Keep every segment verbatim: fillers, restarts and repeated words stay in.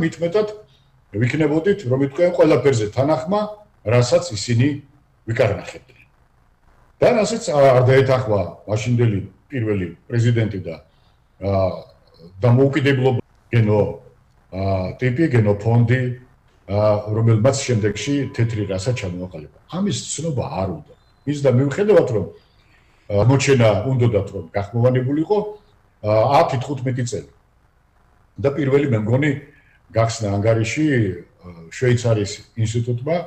მitmetად ვიქნებოდით, რომ იტყვიან ყველაფერზე თანახმა, რასაც ისინი ვიკარნახებდნენ. და რასაც არ დაეთანხმა მაშინდელი პირველი პრეზიდენტი და დამოუკიდებლობა გენო ტიპი, გენო ფონდი, რომელმაც შემდეგში თეთრი რასა ჩამოაყალიბა. ამის ცნობა არ უნდა. ის და მიუხედავად რომ მოჩენა უნდათ რომ გახმოვანებულიყო ათი თხუთმეტი წელი. და პირველი მე მგონი გახსნა ანგარიში შვეიცარიის ინსტიტუტმა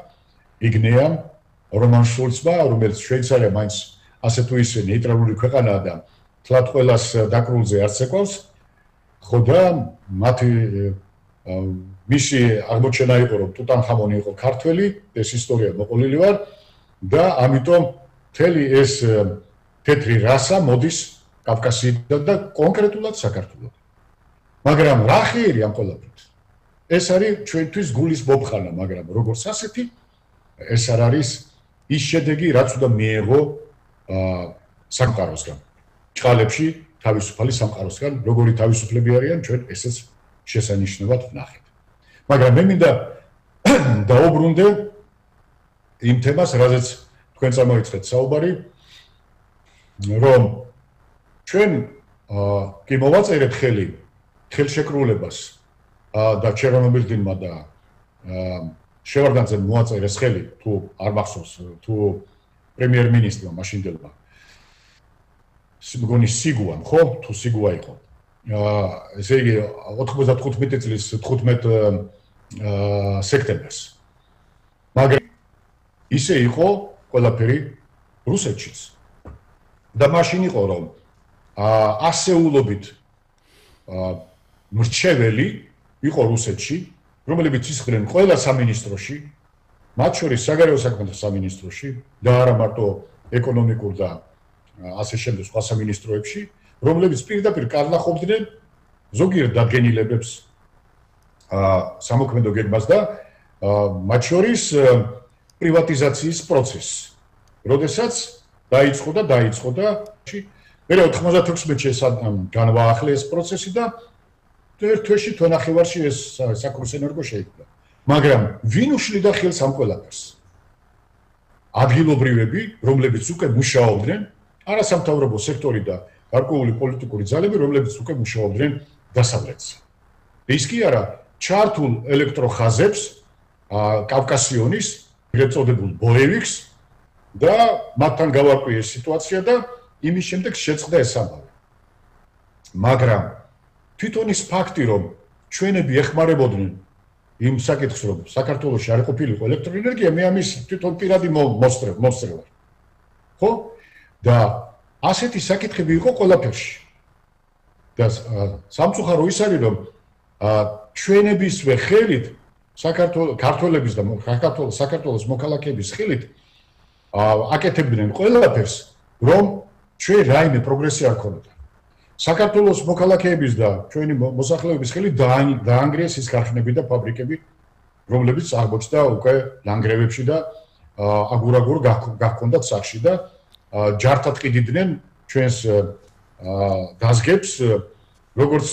იგნეამ რომან შულცმა, რომელიც შვეიცარია მაინც ასე თუ ისე ნეიტრალური ქვეყანაა და თლად ყველას დაკრულზე არც ეკავს, ხო და მათი მისი აღმოჩენა იყო, რომ ტუტანხამონი იყო ქართველი, ეს ისტორია მოყოლილი ვარ და ამიტომ მთელი ეს თეთრი რასა მოდის კავკასიიდან და კონკრეტულად საქართველოსიდან. მაგრამ რა ხირი ამ ყველაფერს? ეს არის ჩვენთვის გულის მობხანა, მაგრამ როგორც ასეთი ეს არ არის ის შედეგი, რაც უნდა მიეღო სამყაროსგან. ჭყალებში თავისუფალი სამყაროსგან, როგორი თავისუფლები არიან, ჩვენ ესეც შესანიშნავად ვნახეთ. მაგრამ მე მინდა დაუბრუნდე იმ თემას, რაზეც თქვენ წამოიწყეთ საუბარი, რომ ჩვენ კი მოვაწერეთ ხელი ხელშეკრულებას და ჩერნომბილმა და შევარდანძემ მოაწერეს ხელი თუ არ მახსოვს თუ პრემიერ-მინისტრმა მაშინდელმა მგონი სიგუამ ხო თუ სიგუა იყო ესე იგი ოთხმოცდათხუთმეტი წლის თხუთმეტ სექტემბერს მაგრამ ისე იყო ყველაფერი რუსეთშიც და მაშინ იყო რომ ასეულობით მრჩეველი იყო რუსეთში რომლებიც ისხდნენ ყველა სამინისტროში მათ შორის საგარეო საქმეთა სამინისტროში და არა მარტო ეკონომიკურ და ასე შემდეგ სხვა სამინისტროებში რომლებიც პირდაპირ კარნახობდნენ ზოგიერთ დადგენილებებს სამოქმედო გეგმას და მათ შორის პრივატიზაციის პროცესს როდესაც დაიწყო და დაიწყო და მე ოთხმოცდათექვსმეტში ეს განვაახლე ეს პროცესი და ერთ თვეში თვენახევარში ეს საკურსენერგო შეიქმნა. მაგრამ ვინ უშლიდა ხელს ამ ყველაფერს? ადგილობრივები, რომლებიც უკვე მუშაობდნენ, არასამთავრობო სექტორი და გარკვეული პოლიტიკური ძალები, რომლებიც უკვე მუშაობდნენ დასავლეთზე. ის კი არა, ჩართულ ელექტროხაზებს, კავკასიონის, ეგრეთ წოდებულ ბოევიკს და მათთან გავარკვიეს სიტუაცია და იმის შემდეგ შეწყდა ეს ამბავი. მაგრამ თვითონ ის ფაქტი, რომ ჩვენები ეხმარებოდნენ იმ საკითხს, რომ საქართველოში არ ყოფილიყო ელექტროენერგია, მე ამის თვითონ პირადი მოსწრებ, მოსწრებ ვარ. ხო? და ასეთი საკითხები იყო ყველაფერში. და სამწუხარო ის არის, რომ ჩვენებისვე ხელით საქართველოს ქართველების და საქართველოს საქართველოს მოქალაქეების ხელით აკეთებდნენ ყველაფერს, რომ ჩვენ რაიმე პროგრესი არ ქონოდა. საქართველოს მოქალაქეების და ჩვენი მოსახლეობის ხელით დაანგრიეს ის ქარხნები და ფაბრიკები, რომლებიც აღმოჩნდა უკვე ლანგრევებში და აგურ-აგურ გახქონდათ სახში და ჯართად ყიდიდნენ ჩვენს დაზგებს, როგორც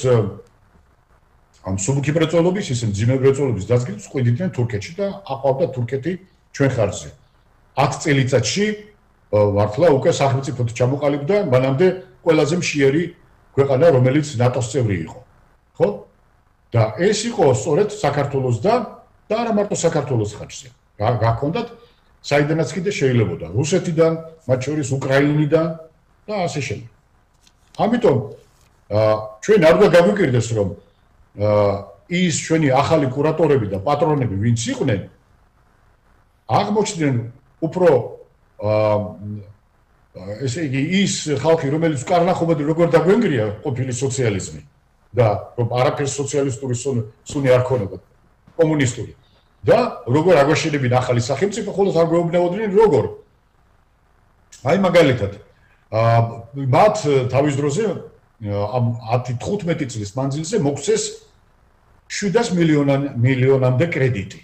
ამ სუბუქი მრეწველობის, ისე მძიმე მრეწველობის დაზგებს ყიდიდნენ თურქეთში და აყვავდა თურქეთი ჩვენ ხარჯზე. ათ წელიწადში მართლა უკვე სახელმწიფოდ ჩამოყალიბდა მანამდე ყველაზე მშიერი ქვეყანა, რომელიც ნატოს წევრი იყო. ხო? და ეს იყო სწორედ საქართველოს და და არა მარტო საქართველოს ხარჯზე. გაქონდათ საიდანაც კიდე შეიძლებოდა რუსეთიდან, მათ შორის უკრაინიდან და ასე შემდეგ. ამიტომ ჩვენ არ უნდა გავიკირდეს, რომ ის ჩვენი ახალი კურატორები და პატრონები, ვინც იყვნენ, აღმოჩნდნენ უფრო ესე იგი ის ხალხი, რომელიც კარნახობად როგორ დაგვენგრია ყოფილი სოციალიზმი და რომ არაფერს სოციალისტური სუნი არ ქონოდა, კომუნისტური. და როგორ აგვაშენებინ ახალი სახელმწიფო, ხოლოს არ გვეუბნებოდნენ როგორ. აი მაგალითად, მათ თავის დროზე ამ ათი თხუთმეტი წლის მანძილზე მოგვცეს შვიდას მილიონამდე კრედიტი.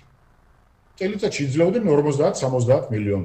წელიწადში იძლეოდნენ ორმოცდაათ სამოცდაათ მილიონ